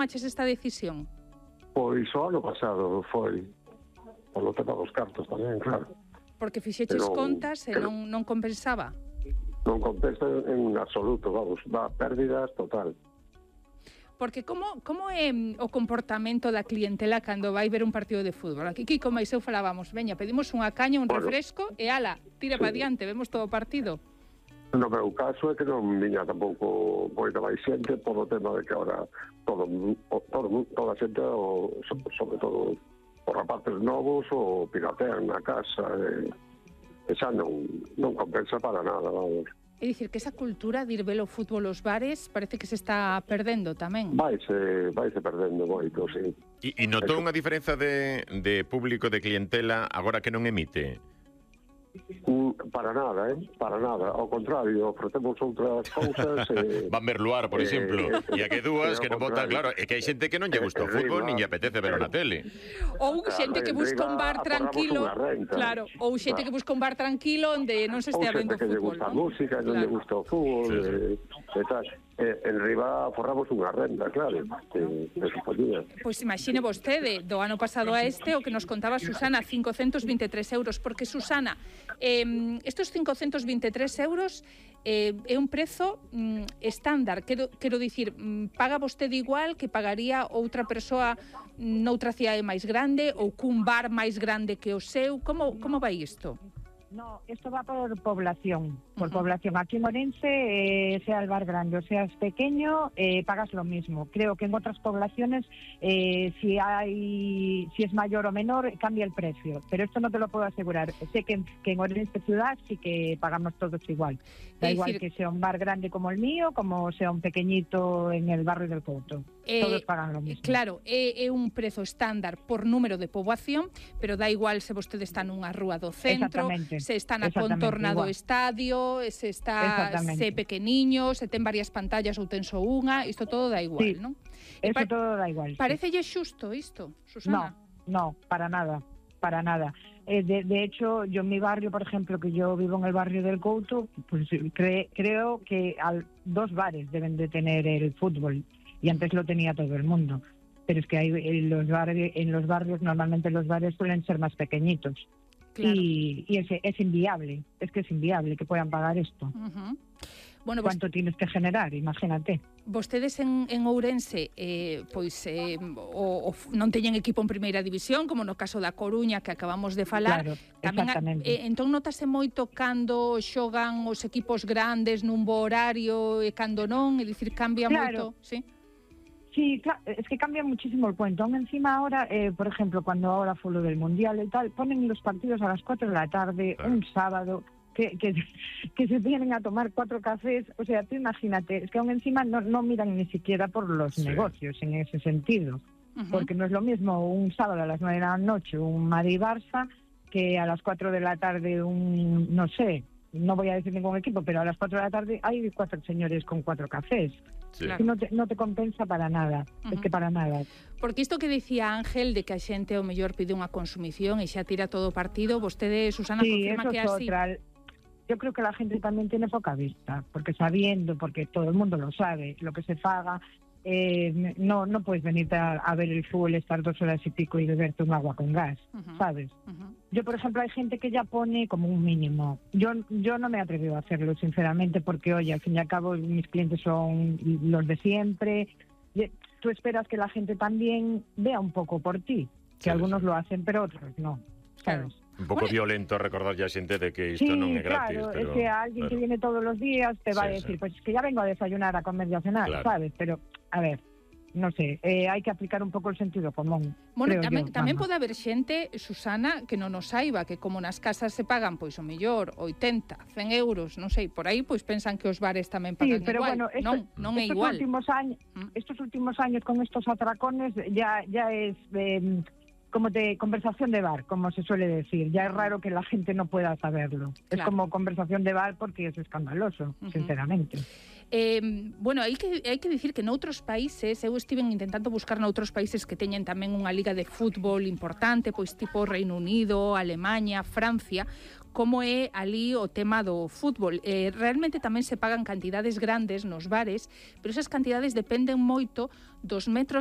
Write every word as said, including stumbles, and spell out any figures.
tomaches esta decisión? Pois o ano pasado foi, polo tema dos cartos tamén, claro. Porque fixeches Pero, contas e pero, non, non compensaba? Non compensa en absoluto, vamos, va pérdidas total. Porque como, como é o comportamento da clientela cando vai ver un partido de fútbol? Aquí, Kiko, máis eu falábamos, veña, pedimos unha caña, un bueno, refresco e ala, tira sí. para diante, vemos todo o partido. No meu caso é que non viña tampouco moita máis xente por o tema de que ahora todo, todo, toda a xente, o, sobre todo os rapaces novos, o piratean na casa e, e xa non, non compensa para nada, vamos. É dicir, que esa cultura de ir ver o fútbol aos bares parece que se está perdendo tamén. Vaise, vaise perdendo moito, sí. E, e notou unha diferenza de, de público, de clientela, agora que non emite? Mm, para nada, eh? Para nada. Ao contrario, ofrecemos outras cousas. Eh, Van ver Luar, por eh, exemplo. E a que dúas que non votan, claro, é que hai xente que non lle gusta o fútbol, nin lle apetece ver na tele. Ou xente que busca un bar tranquilo, claro, ou xente claro. que busca un bar tranquilo onde non se estea vendo fútbol. Ou xente que lle fútbol, gusta a non? música, non lle gusta o fútbol, Sí, sí. eh, e tal. Eh, en riba forramos unha renda, claro, que, que se podía. Pois imagine vostede, do ano pasado a este, o que nos contaba Susana, cincocentos vinte e tres euros, porque Susana, eh, estos cincocentos vinte e tres euros eh, é un prezo mm, estándar, quero, quero dicir, mm, paga vostede igual que pagaría outra persoa noutra cidade máis grande ou cun bar máis grande que o seu, como, como vai isto? No, esto va por población, por Uh-huh. población. Aquí en Orense, eh, sea el bar grande o seas pequeño, eh, pagas lo mismo. Creo que en otras poblaciones, eh, si hay, si es mayor o menor, cambia el precio. Pero esto no te lo puedo asegurar. Sé que, que en Orense ciudad sí que pagamos todos igual. Da Es igual decir, que sea un bar grande como el mío, como sea un pequeñito en el barrio del Couto. Eh, Todos pagan lo mismo. Claro, é, é un prezo estándar por número de poboación, pero dá igual se vostede está nunha rúa do centro, Exactamente. se está na Exactamente, contorna do igual. estadio, se está Exactamente. se pequeniño, se ten varias pantallas ou ten só unha, isto todo dá igual, Sí, non? Eso pa- todo da igual. sí. Parecelle xusto isto, No, Susana? no, para nada, para nada. Eh, de, de hecho, yo en mi barrio, por ejemplo, que yo vivo en el barrio del Couto, pues cre- creo que al, dos bares deben de tener el fútbol, y antes lo tenía todo el mundo. Pero es que hay, en, los barrios, en los barrios, normalmente los bares suelen ser más pequeñitos. Claro. Y, y es, es inviable, es que es inviable que puedan pagar esto. Uh-huh. Bueno, vos, ¿Cuánto tienes que generar? Imagínate. vostedes en, en Ourense eh, pois eh, o, o, non teñen equipo en primeira división, como no caso da Coruña que acabamos de falar. Claro, Tamén, exactamente. eh, entón notase moito cando xogan os equipos grandes nun bo horario e cando non, é dicir, cambia Claro. moito, sí? Sí, claro, es que cambia muchísimo el cuento. Aún encima ahora, eh, por ejemplo, cuando ahora fue lo del Mundial y tal, ponen los partidos a las cuatro de la tarde, Claro. un sábado, que, que, que se vienen a tomar cuatro cafés. O sea, tú imagínate, es que aún encima no, no miran ni siquiera por los Sí. negocios en ese sentido. Uh-huh. Porque no es lo mismo un sábado a las nueve de la noche un Madrid-Barça que a las cuatro de la tarde un, no sé, no voy a decir ningún equipo, pero a las cuatro de la tarde hay cuatro señores con cuatro cafés. Sí. Claro. No te, no te compensa para nada, Ujú. es que para nada. Porque isto que dicía Ángel de que a xente o mellor pide unha consumición e xa tira todo o partido, vostede, Susana, Sí, confirma eso que é es así. otra. Yo creo que la gente también tiene poca vista, porque sabiendo, porque todo el mundo lo sabe, lo que se paga, eh, no no puedes venir a, a ver el fútbol, estar dos horas y pico y beberte un agua con gas, Ujú. ¿sabes? Uh-huh. Yo, por ejemplo, hay gente que ya pone como un mínimo. Yo yo no me he atrevido a hacerlo, sinceramente, porque, oye, al fin y al cabo mis clientes son los de siempre. Y tú esperas que la gente también vea un poco por ti, que Sí, algunos sí. lo hacen, pero otros no, Claro. ¿sabes? Un pouco Bueno. violento recordar ya a xente de que isto Sí, non é gratis, claro, pero es que alguien claro. que viene todos los días te va Sí, a decir, sí. pues es que ya vengo a desayunar, a comer y a cenar, Claro. ¿sabes? Pero, a ver, no sé, eh, hay que aplicar un pouco el sentido común. Bueno, creo tamén, yo, tamén vamos. pode haber xente, Susana, que non o saiba, que como nas casas se pagan, pois o mellor, oitenta, cen euros, non sei, por aí, pois pensan que os bares tamén Sí, pagan pero igual. bueno, esto- non, non é estos igual. últimos años, Mm. estos últimos años con estos atracones ya ya es eh, como de conversación de bar, como se suele decir. Ya es raro que la gente no pueda saberlo. Es Claro. como conversación de bar porque es escandaloso, Ujú. sinceramente. Eh, bueno, hai que, hai que dicir que noutros países, eu estiven intentando buscar noutros países que teñen tamén unha liga de fútbol importante, pois tipo Reino Unido, Alemanha, Francia, como é ali o tema do fútbol. Eh, realmente tamén se pagan cantidades grandes nos bares, pero esas cantidades dependen moito dos metros